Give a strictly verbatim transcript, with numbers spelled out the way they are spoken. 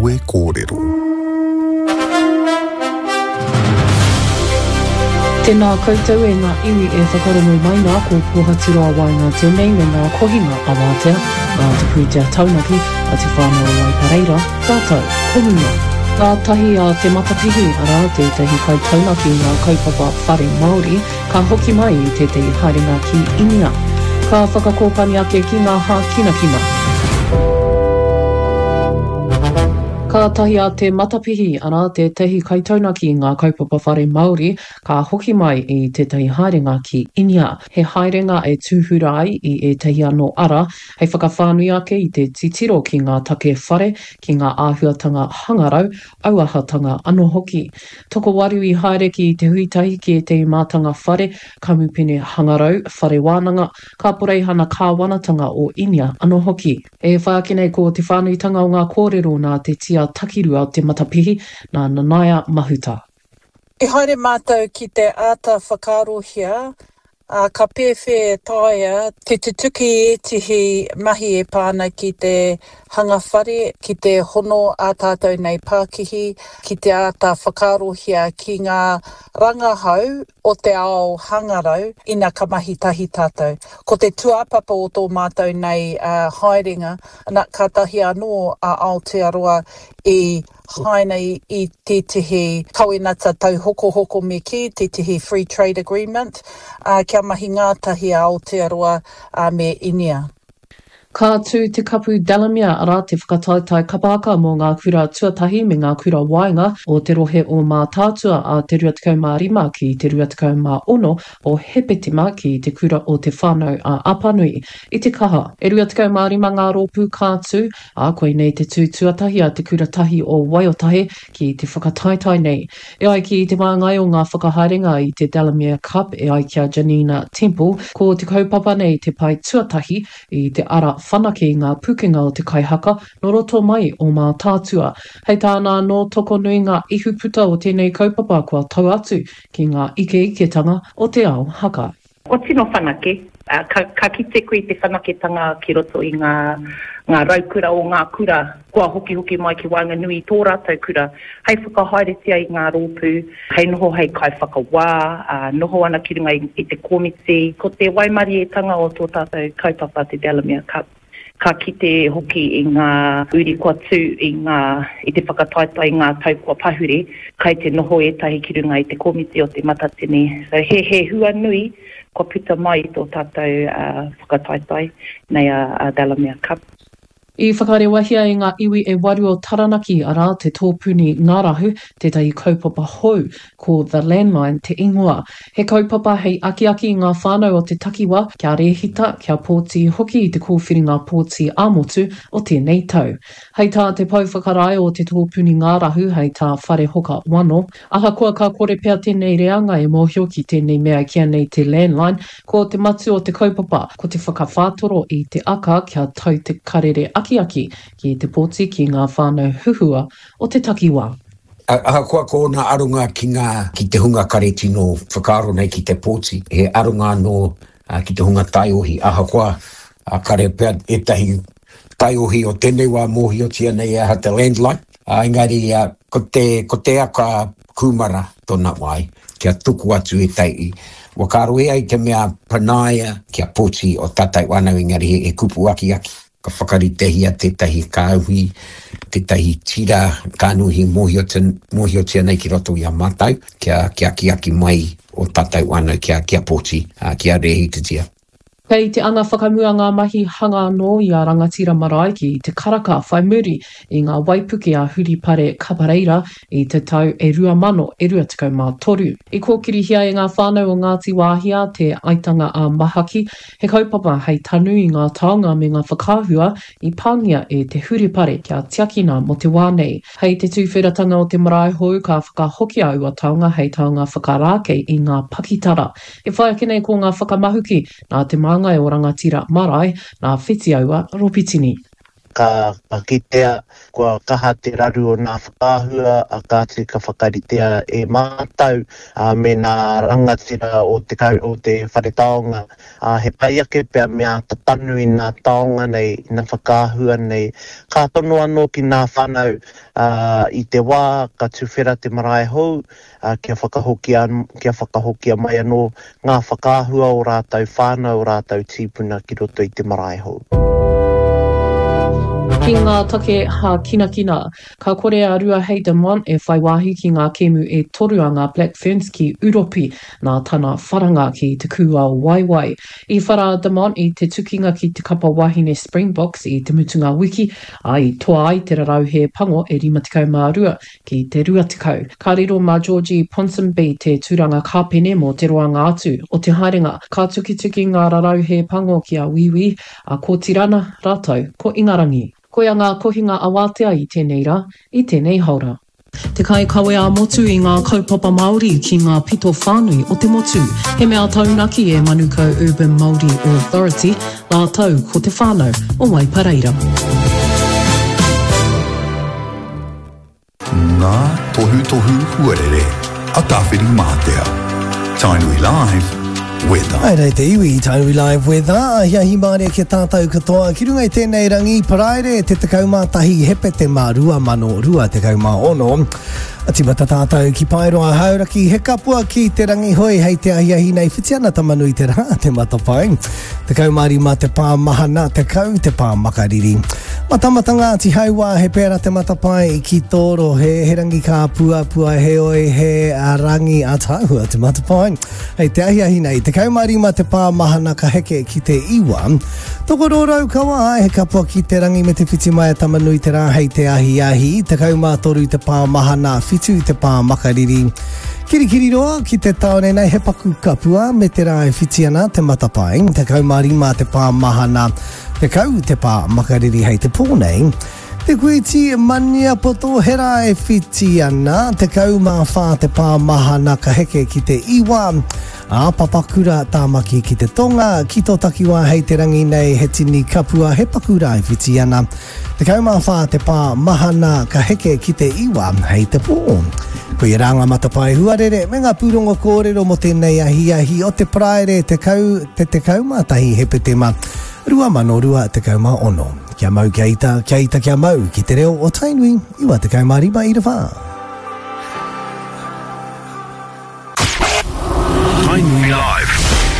Kawe Kōrero. Tēnā koutou e ngā iwi e whakarongo mai nā, ko Pōhaturoa Waenga tēnei me ngā kohinga awatea a Te Pūtea Taunaki a Te Whānau o Waipareira rātou ko mua. Ngātahi a Te Matapihi, arā, tētahi kaitaunaki i ngā kaupapa whare Māori, ka hoki mai i tētahi haerenga ki Inia. Ka whakakōpani ake ki ngā hākinakina. Kātahi a Te Matapihi, arā, tētahi kaitaunaki i ngā kaupapa whare Māori, ka hoki mai i tētahi haerenga ki Inia. He haerenga e tūhura ai i ētahi anō ara hei whakawhānui ake i te titiro ki ngā take whare, ki ngā āhuatanga hangarau, auahatanga anō hoki. Tokowaru i haere ki te huitahi ki ētahi mātanga whare, kamupene hangarau, whare wānanga, kaporeihana kāwanatanga o Inia anō hoki. E whai ake nei ko te whānuitanga o ngā kōrero nā te tia takirua o Te Matapihi, nā Nanaia Mahuta. I haere mātou ki te āta whakaarohia, ā, ka pēwhea e taea te tutuki ētehi mahi e pā ana ki te hanga whare, ki te hono ā tātou nei pākihi, ki te āta whakaarohia ki ngā rangahau o te ao hangarau ina ka mahi tahi tātou. Ko te tūāpapa o tō mātou nei haerenga, na, kātahi anō a Aotearoa i haina i tētehi kawenata tauhokohoko me kī, tētehi free trade agreement, ā, kia mahi ngātahi a Aotearoa me Inia. Ka tū te Kapu Delamere, arā, te whakataetae kapa haka mō ngā kura tuatahi me ngā kura waenga o te rohe o Mātaatua ā te rua tekau mā rima ki te rua tekau mā ono o Hepetema ki te kura o Te Whānau a Apanui i Te Kaha. E rua tekau mā rima ngā rōpū ka tū, ā, koinei te tū tuatahi a Te Kura Tahi o Waiotahe ki te whakataetae nei. E ai ki te māngai o ngā whakahaerenga i te Delamere Cup, e ai ki a Janina Temple, ko te kaupapa nei te pae tuatahi i te ara whanake i ngā pukenga o te kaihaka nō roto mai o Mātaatua. Hei tāna anō, tokonui ngā ihuputa o tēnei kaupapa kua tau atu ki ngā ikeiketanga o te ao haka. Kua tino whanake, ka, ka kite koe i te whanaketanga ki roto i ngā, ngā raukura o ngā kura kua hokihoki mai ki waenganui i tō rātou kura hei whakahaeretia i ngā rōpū, hei noho hei kaiwhakawā, ā, noho ana ki runga i, i te komiti. Ko te waimarietanga o tō tātou kaupapa te Delamere Cup, ka kite hoki i ngā uri kua tū i ngā, i te whakataetae i ngā tau kua pahure, kai te noho ētahi ki runga i te komiti o Te Matatini. So he, he hua nui kua puta mai i tō tātou whakataetae nei a, a Delamere Cup. I whakarewahia e ngā iwi e waru o Taranaki, arā, te Tōpuni Ngārahu, tētahi kaupapa hou, ko The Landline te ingoa. He kaupapa hei akiaki i ngā whānau o te takiwā kia rēhita, kia pōti hoki i te kōwhiringa pōti ā-motu o tēnei tau. Hei tā te pou whakarae o te Tōpuni Ngārahu, hei tā Wharehoka Wano, Ahakoa ka kore pea tēnei reanga e mōhio ki tēnei mea e kīa nei te landline, ko te matū o te kaupapa, ko te whakawhātoro i te aka kia tau te karere akiaki ki te pōti ki ngā whānau huhua o te takiwā. Ahakoa ko ōna aronga ki ngā, ki te hunga kare tino whakaaro nei ki te pōti, he aronga anō ki te hunga taiohi, ahakoa kare pea ētahi taiohi o tēnei wā mōhiotia nei e aha te landline, engari ko te, ko te aka kūmara tōna wai, kia tuku atu ētahi whakaaro e ai te mea panaia kia pōti o tātou whānau engari he kupu akiaki. Ka whakaritehia tētahi kāhui, tētahi tira kānuhi mōhiotia nei ki roto i a mātou, kia, kia akiaki mai o tātou whānau kia, kia pōti, kia rēhitatia. Kei te anga whakamua ngā mahi hanga anō i a Rangatira Marae ki Te Karaka whai muri i ngā waipuke a Huripare Kapareira i te tau e rua mano e rua tekau mā toru. I kōkirihia e ngā whānau o Ngāti Wāhia te Aitanga a Mahaki, he kaupapa hei tanu i ngā taonga me ngā whakaahua i pāngia e te huripare kia tiakina mō te wā nei. Hei te tūwheratanga o te marae hou ka whakahokia aua taonga hei taonga whakarākei i ngā pakitara. E whai ake nei ko ngā whakamahuki nā te māngai o Rangatira Marae, nā Whitiaua Ropitini. Ka, ka kitea, kua kaha te raru o nā whakaahua, a kāti ka whakaritea e mātau, a, me nā rangatira o te, o te whare taonga. A, he pai ake pea me āta tanu i nā taonga nei, i nā whakaahua nei. Ka tono anō ki nā whānau, a, i te wā ka tuwhera te marae hou, a, kia whakahokia, kia whakahokia mai anō ngā whakaahua o rātou whānau, o rātou tīpuna ki roto i te marae hou. Ki ngā take hākinakina, ka kore a Ruahei Demant e whai wāhi ki ngā kēmu e toru a ngā Black Ferns ki Uropi nā tana wharanga ki te kūao waewae. I whara a Demant i te tukinga ki te kapa wahine Springboks i te mutunga wiki, ā, i toa ai te rarauhe pango e rima tekau mā rua ki te rua tekau. Ka riro mā Georgie Ponsonby te tūranga kāpene mō te roanga atu o te haerenga. Ka tukituki ngā rarauhe pango ki a Wīwī, a Kōtirana rātou ko Ingarangi. Koia ngā kohinga awātea i tēnei rā, i tēnei haora. Te kaikawe ā-motu i ngā kaupapa Māori ki ngā pito whānui o te motu. He mea taunaki e Manukau Urban Māori Authority rātou ko te whānau o Waipareira. Ngā tohutohu huarere a Tāwhirimātea. Tainui Live Weather. Haere te iwi, Tainui Live Weather. Ahiahi mārie ki a tātou katoa. Ki runga i tēnei rangi, Paraire te tekau mā tahi Hepetema rua mano rua tekau mā ono. Tīmata tātou ki Paeroa Hauraki, he kapua ki te rangi hoi hei te ahiahi nei whiti ana Tamanui te rā, te matapae. Tekau mā rima te pā mahana, tekau te pā makariri. Matamata Ngāti Hauā, he pērā te matapae ki tō rohe, he rangi kāpuapua, heoi he rangi ātaahua te matapae. Hei te ahiahi nei, tekau mā rima te pā mahana ka heke ki te iwa. Tokoro Raukawa, he kapua ki te rangi me te whiti mai a Tamanui te rā hei te ahiahi, tekau mā toru te pā mahana, whitu te pā makariri. Kirikiriroa ki te tāone nei he paku kapua me te rā e whiti ana te matapae, tekau mā rima te pā mahana, tekau te pā makariri hei te pō nei. Te Kuiti Maniapoto he rā e whiti ana, tekau mā whā te pā mahana ka heke ki te iwa. Ā, Papakura Tāmaki ki te tonga, ki tō takiwā hei te rangi nei he tini kapua, he paku rā e whiti ana. Tekau mā whā te pā mahana ka heke ki te iwa hei te pō. Koia rā ngā matapae huarere me ngā pūrongo kōrero mō tēnei ahiahi o te Paraire tekau te tekau mā tahi Hepetema rua mano rua tekau mā ono. Kia mau kia ita, kia ita kia mau ki te reo o Tainui, iwa tekau mā rima ira whā.